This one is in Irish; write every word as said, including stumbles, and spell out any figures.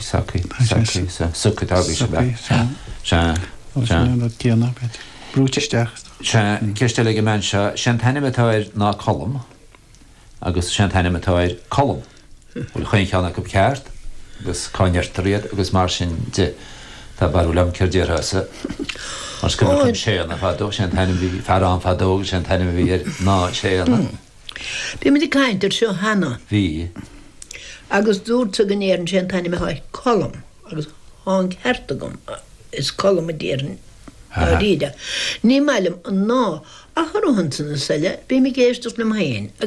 Socaí, socaí, socaí tá sé. Sea. Céanna brúite isteach. Sea, ceist eile ag an mbean seo, sé an t-ainm atá air ná Colm agus sé an t-ainm atá air Colm. Bhfuil chaon cheann acu ceart agus cá ndeirtear iad agus mar sin de tá barúil agam céard déarfása. Mar scuir Séanna fadó, sé an t-ainm bhí fear ann fadó agus sé an t-ainm a bhí air ná Séanna. Bhí muid ag caint air seo cheana. Bhí. Agus dúirt go ndéarfainn sé an t-ainm atá air Colm agus tá an ceart agam is Colm a déarfainn dáiríre. Ní maith liom an ná ach ar san is eile, bím ag éisteacht liom féin agus